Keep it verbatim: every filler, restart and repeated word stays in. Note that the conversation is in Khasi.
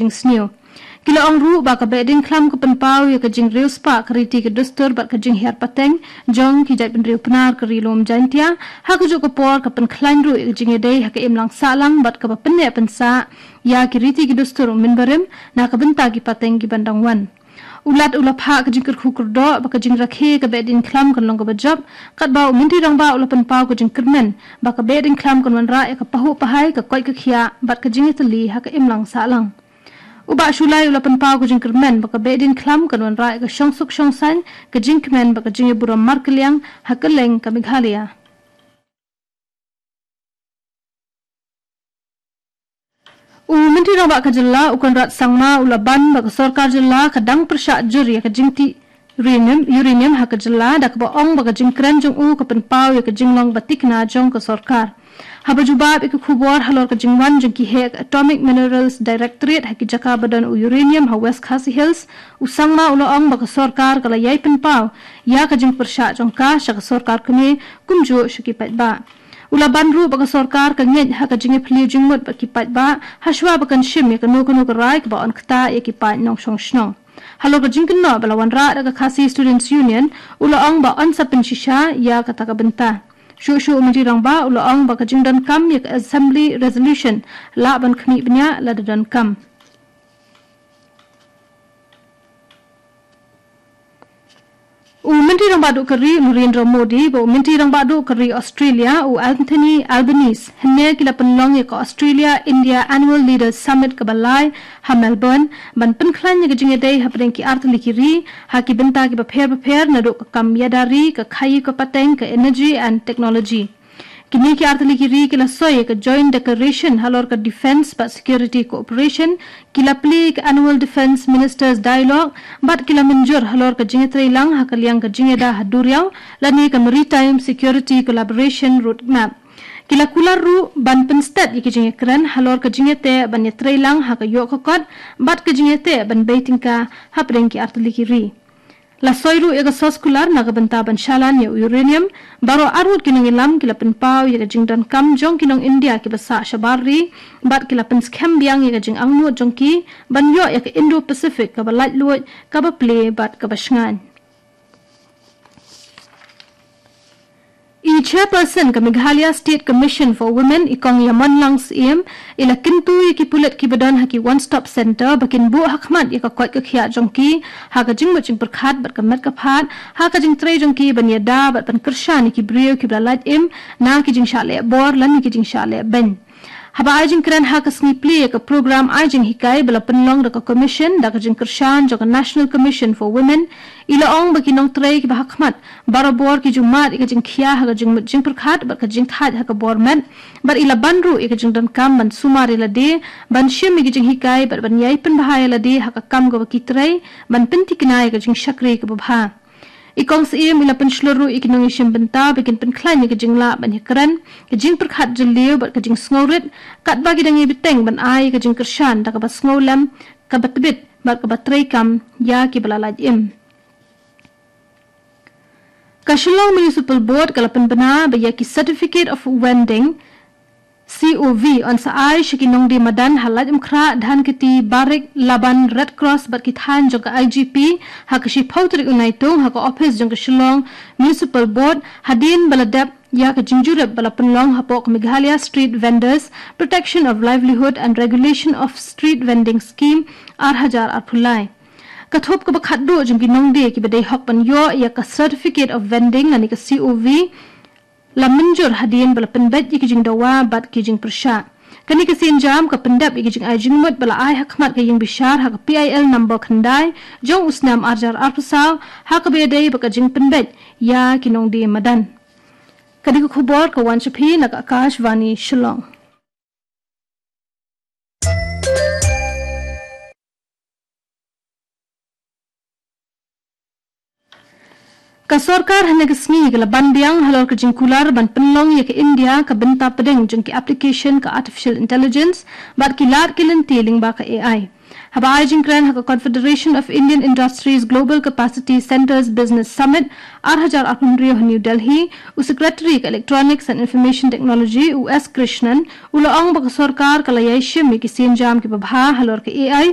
jingsniew. Ki la ong ruh ba ka Behdeiñkhlam ka pynpaw ïa ka jingriewspah ka riti ka dustur bad ka jinghiar pateng jong ki jaitbynriew Pnar ka Ri Lum Jaiñtia, ha kajuh ka por ka pynkhlaiñ ruh ïa ka jingïadei ha ka imlang sahlang bad kaba pynneh pynsah ïa ki riti ki dustur u mynbarim na ka bynta ki pateng kiban dang wan. U Lat u la phah ka jingkyrkhu kyrdoh ba ka jingrakhe ka Behdeiñkhlam kan long kaba jop, katba u Myntri Rangbah u la pynpaw ka jingkyrmen ba ka Behdeiñkhlam kan wanrah ïa ka pahuh pahai, ka koit ka khiah bad ka jingïatylli ha ka imlang sahlang. U Bah Shullai u la pynpaw ka jingkyrmen ba ka Behdeiñkhlam kan wanrah ïa ka shongsuk shongsaiñ, ka jingkmen bad ka jingïaburom markylliang ha kylleng ka Meghalaya. U Myntri Rangbah ka Jylla u Conrad Sangma u la ban ba ka Sorkar Jylla ka dang pyrshah jur ïa ka jingtih uranium, uranium ha ka Jylla, da kaba ong ba ka jingkren jong u ka pynpaw ïa ka jinglong ba thikna jong ka Sorkar. Haba jubab ïa ki khubor halor ka jingwan jong ki heh ka Atomic Minerals Directorate ha ki jaka ba don u uranium ha West Khasi Hills, u Sangma u la ong ba ka Sorkar ka la ïai pynpaw ïa ka jingpyrshah jong ka sha ka Sorkar Kmie kumjuh sha ki paidbah. U la ban ruh ba ka Sorkar ka ngeit ha ka jingïaphylliew jingmut bad ki paidbah, hashwa ba kan shim ïa kano kano ka rai kaba yn ktah ïa ki paid nongshong shnong. Halor ka jingkynnoh ba la wanrah da ka Khasi Students Union, u la ong ba yn sa pynshisha ïa kata ka bynta. Shuh shuh u Myntri Rangbah u la ong ba ka jingdonkam ïa ka Assembly Resolution lah ban khmih bniah lada donkam. U Myntri Rangbah Duh ka Ri u Narendra Modi bad u Myntri Rangbah Duh ka Ri Australia u Anthony Albanese hynne ki la pynlong ïa ka Australia India Annual Leaders Summit kaba lai ha Melbourne, ban pynkhlaiñ ïa ka jingïadei hapdeng ki artylli ki ri ha ki bynta kiba pher bapher, naduh ka kam ïada ri, ka khaïi ka pateng, ka energy and technology. Kine ki artylli ki ri ki la soi ïa ka Joint Declaration halor ka Defence bad Security Cooperation, ki la plie ïa ka Annual Defence Ministers Dialogue bad ki la mynjur halor ka jingïatreilang ha ka liang ka jingïada ha duriaw lane ka Maritime Security Collaboration Roadmap. Ki la kular ruh ban pynstet ïa ka jingïakren halor ka jingïateh ban ïatreilang ha ka ïoh ka kot bad ka jingïateh ban bei tyngka hapdeng ki artylli ki ri. La soi ruh ïa ka soskular na ka bynta ban shalan ïa u uranium. Baroh arngut ki nongïalam ki la pynpaw ïa ka jingdonkam jong ki nong India kiba sah shabar ri bad ki la pynskhem biang ïa ka jingangnud jong ki ban ïoh ïa ka Indo-Pacific kaba laitluid, kaba plie bad kaba shngaiñ. I Chairperson ka Meghalaya State Commission for Women, i Kong Ïamonlang Syiem, i la kyntu ïa ki pulit kiba don ha ki One Stop Centre ba kin buh hakhmat ïa ka koit ka khiah jong ki ha ka jingmut jingpyrkhat bad ka met ka phad ha ka jingtrei jong ki ban ïada bad ban kyrshan ïa ki briew kiba la lait im na ki jingshah leh bor lane ki jingshah leh beiñ. Haba ai jingkren ha ka sngi plie ïa ka program ai jinghikai ba la pynlong da ka Commission da ka jingkyrshan jong ka National Commission for Women, i la ong ba ki nongtrei kiba hakhmat barabor ki ju mad ïa ka jingkhia ha ka jingmut jingpyrkhat bad ka jingthait ha ka bor met, bad i la ban ruh ïa ka jingdonkam ban sumar ïa lade, ban shim ïa ka jinghikai bad ban ïai pynbha ïa lade ha ka kam kaba ki trei, ban pynthikna ïa ka jingshakri kaba bha. I Kong Syiem i la pynshlur ruh ïa ki nongïashim bynta ba kin pynkhlaiñ ïa ka jinglah ban ïakren, ka jingpyrkhat jylliew bad ka jingsngewrit, katba ki dang ïai bteng ban ai ïa ka jingkyrshan da kaba sngewlem, kaba tbit bad kaba treikam ïa kiba la lait im. Ka Shillong Municipal Board ka la pynbna ba ïa ki Certificate of Vending, C O V, yn sa ai sha ki nongdie madan ha Laitumkhrah, Dhankheti, Barik, Laban, Red Cross bad ki thaiñ jong ka I G P ha ka shiphew tarik u Naitung ha ka ophis jong ka Shillong Municipal Board, hadien ba la dep ïa ka jingjurip ba la pynlong hapoh ka Meghalaya Street Vendors Protection of Livelihood and Regulation of Street Vending Scheme, ar hajar arphew lai. Ka thup kaba khatduh jong ki nongdie kiba dei hok ban ïoh ïa ka Certificate of Vending lane ka C O V la mynjur hadien ba la pynbeit ïa ki jingdawa bad ki jingpyrshah. Kane ka sienjam ka pyndep ïa ki jingai jingmut ba la ai hakhmat ka ïingbishar ha ka P I L number khyndai jong u snem ar hajar arphew saw, ha kaba ïadei bad ka jingpynbeit ïa ki nongdie madan. Ka dei ka khubor ka wan sha phi na ka Akashvani Shillong. Ka sorkar hynne ka sngi ka la ban biang halor ka jingkular ban pynlong ïa ka India ka bynta pdeng jong ki application ka artificial intelligence bad ki lad ki lynti lyngba ka A I. Haba ai jingkren ha ka Confederation of Indian Industries Global Capacity Centres Business Summit ar hajar arphew hynriew ha New Delhi, u Secretary ka Electronics and Information Technology, u S Krishnan, u la ong ba ka sorkar ka la ïai shim ïa ki sienjam kiba bha halor ka A I